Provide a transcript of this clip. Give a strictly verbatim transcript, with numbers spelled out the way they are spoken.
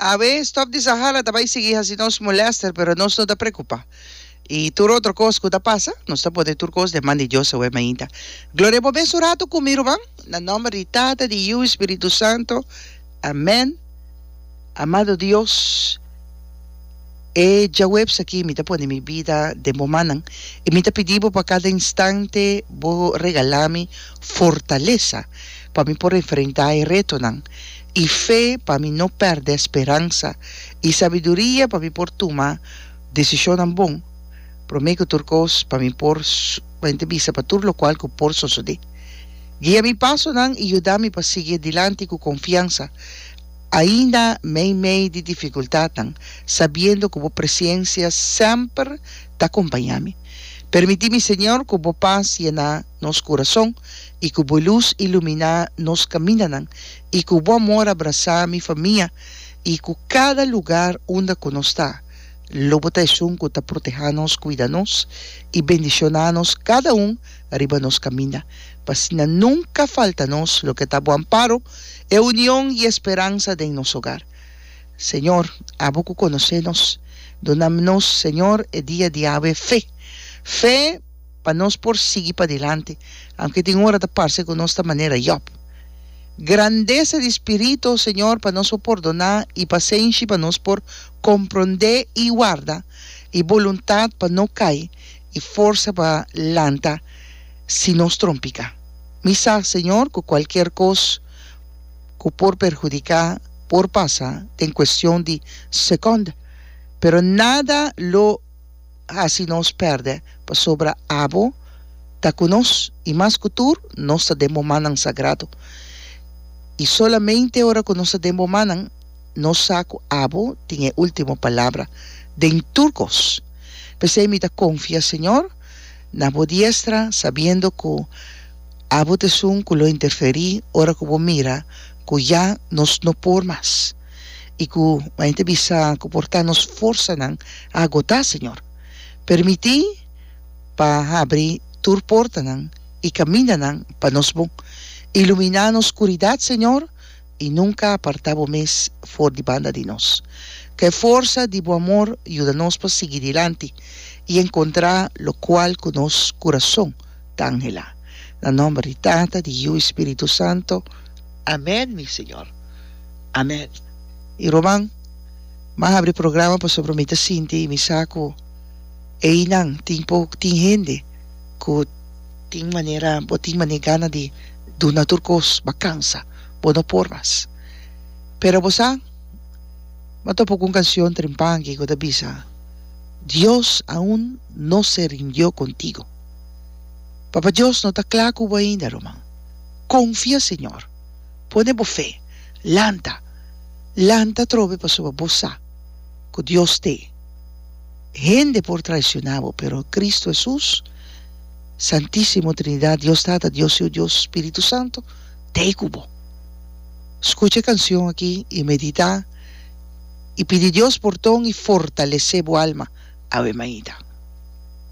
Awe stòf di Sahara ta bai sigui hasi nos molèster, pero nos no ta preokupá. I tur otro kos ku ta pasa, nos ta pone tur kos den man di Dios awe mainta. Gloria bo mes un ratu ku mi, ruman, na nòmber di Tata, di Yu i Spiritu Santu. Amèn. Amado Dios, e djaweps aki mi ta pone mi bida den bo mannan i mi ta pidi bo pa kada instante bo regalá mi fortalesa pa mi por enfrentá e retonan i fe pa mi no pèrdè speransa i sabiduria pa mi por tuma desishonnan bon promé ku tur kos pa mi por pa bisa pa tur lokual ku por sosodé. Guia mi pasonan i yuda mi pa sigui dilanti ku konfiansa ainda meimei di difikultatnan, sabiendo ku bo presensia semper ta kompañá mi. Permití mi, Señor, ku bo pas yena nos kurason i ku bo lus iluminá nos kamindanan i ku bo amor abrasá mi famia i ku kada lugá unda ku nos ta. Lo bo ta esun ku ta protehá nos, kuida nos i bendishoná nos kada un riba nos kaminda. Pa asina nunka falta nos loke ta bo amparo, e union i e speransa den nos hogar. Señor, abo ku konosé nos, duna nos, Señor, e dia di awe fe. Fe pa nos por sigui padilanti, aunke tin ora ta parse ku nos ta manera Job. Grandesa di spiritu, Señor, pa nos por pordoná i pasenshi pa nos por komprondé i warda, i boluntat pa no kai i forsa pa lanta si nos trompiká. Mi sa, Señor, ku kualkier kos ku por perhudiká por pasa den kuestion di sekònde, pero nada lo hasi nos pèrdè pasobra abo ta ku nos i mas ku tur nos ta den bo mannan sagrado. I solamente ora ku nos ta den bo mannan nos sa ku abo tin e último palabra den tur kos. P'esei mi ta konfia, Señor, na bo diestra, sabiendo ku abo ta esun ku lo interferí ora ku bo mira ku ya nos no por mas i ku ta bisa ku por ta nos forsanan a agotá, Señor. Permití pa habri tur portanan i kamindanan pa nos bon. Iluminá nos skuridat, Señor, i nunka apartá bo mes for di banda di nos. Ku e forsa di bo amor yuda nos pa sigui dilanti i enkontrá lokual ku nos kurason ta anhelá. Na nòmber di Tata, di Yu i Spiritu Santu. Amèn, mi Señor. Amèn. I ruman, m'a habri programa pasobra mi ta sinti i mi sa ku einan tin pok tin hende ku tin manera bo tin manera gana di duna tur kos, bo a kansa, bo no por mas. Pero bo sa, m'a topa ku un kanshon trempanki ku ta bisa, Dios aún no se rindió contigo. Papa Dios no ta kla ku bo ainda, ruman. Konfia Señor. Pone bo fe. Lanta. Lanta atrobe pasobra bo sa ku Dios t'e. Hende por traishoná bo, pero Kristu Hesus, Santísimo Trinidat, Dios Tata, Dios Yu, Dios Spiritu Santu, t'ei ku bo. Skucha e kanshon aki i meditá i pidi Dios porton i fortalesé bo alma. Awe mainta.